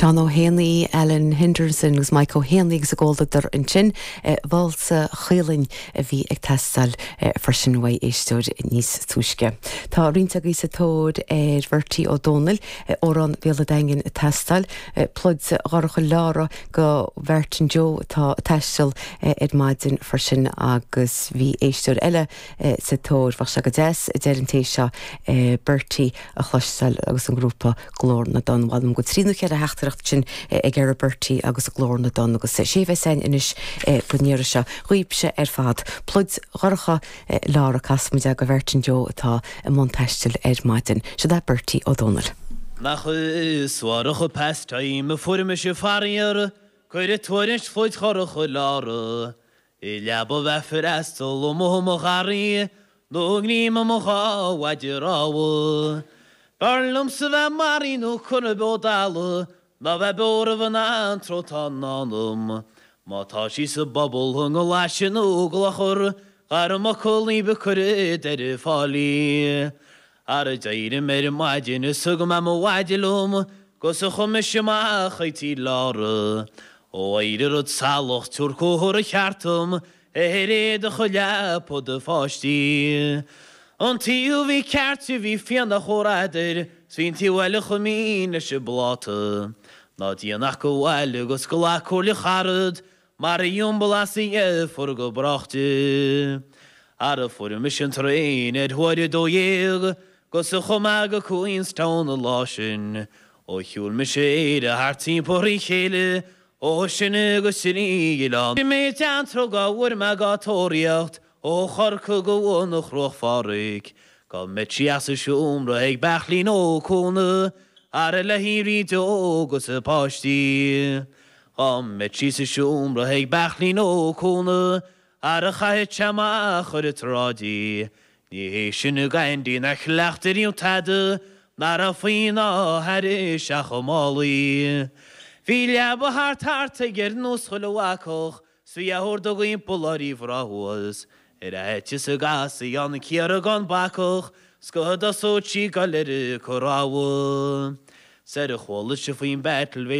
Seán Ó hÉanaí, Alan Henderson agus Mike Ó hÉanaí agus a gcomhluadar ansin. Válsa Chaolainn a bhí ag teastáil freisin uaidh éisteoir níos túisce. Tá roinnt agaibh sa tóir ar Bhertie Ó Dónaill, Amhrán Bhéal an Daingin ag teastáil, Pluid Dhorcha Leára do Mhartin Joe atá ag taisteal ar maidin freisin agus bhí éisteoir eile sa tóir. Bheadh sé go deas, a deir an té seo, Bertie a chloisteáil agus an grúpa Glór na dTonn. Mh'anam go bhfuil trí nó cheithre theachtaireacht ansin ag iarraidh Bertie agus Glór na dTonn agus sé a bheas againn anois don iarraidh seo dhaoibhse ar fad. Pluid Dhorcha Leára casfaimid é do Mhartin Joe atá i mbun taistil ar maidin. Siod é Bertie Ó Dónaill. Nach suarach an pastime a fuair mise faraor, cuireadh tuairisc phluid dhorcha Leára I leaba bheith freastal amuigh i mo gharraí nó i ngreim i mo dhá mhaide rámha. B'fhearr liomsa bheith maraithe nó curtha beo dalla ná bheith beo roimh an antró atá i ndán dom. Má tá sí sa bpobal i nGlaise nó i gClochar, ghairm fhocal ní ba cuireadh deireadh fáilí. Ara d'éirigh mé ar maidin is thug mé mo mhaide liom 'gus a chuaigh mise amach chuig tí Lára. Ó éirigh rud salach tabhair cóthar cheart dom ar éadach a leapa do pháistí. An taobh a bhí ceart di bhí fíonach chomh radair 's bhí an taobh eile chomh mín leis an bpláta. Ná déan ach gabh abhaile 'gus glac comhairle charad Mar a iombal as a dheirfiúr go brách di. Ara fuair mise an traein ar huair a 12 'gus a chuaigh mé go Queenstown an lá sin. Ó shiúil mise Éire thart timpeall thrí chéile ó sin go trí oileán. Bhí mé i dteannta dhá bhfuair mé dhá tóraíocht ó Chorcaigh go bun an Chruach Phádraig. Go mbeadh sí as a seomra ag Beachlín Ó Cúna ara le hÉirí óg agus a páistí. Dhá mbeadh sí sa seomra ag Beachlín Ó Cúna ara chaithfeadh sé amach ar an tsráid í. Ní hé sin a Aindí nár chleacht ariamh tada ná raibh faoi ná thairis ach a málaí. Bhí leaba thart thart aige ar nós chuile bhacach 's bhí a hordóg iompar lá riamh rá thuas ar fhaitíos a gcasfaí an cíoradh gan bacach 's go dtosódh sí ag goil ar a corrabhadh. 'S ar chuala sibh faoin battle bhí.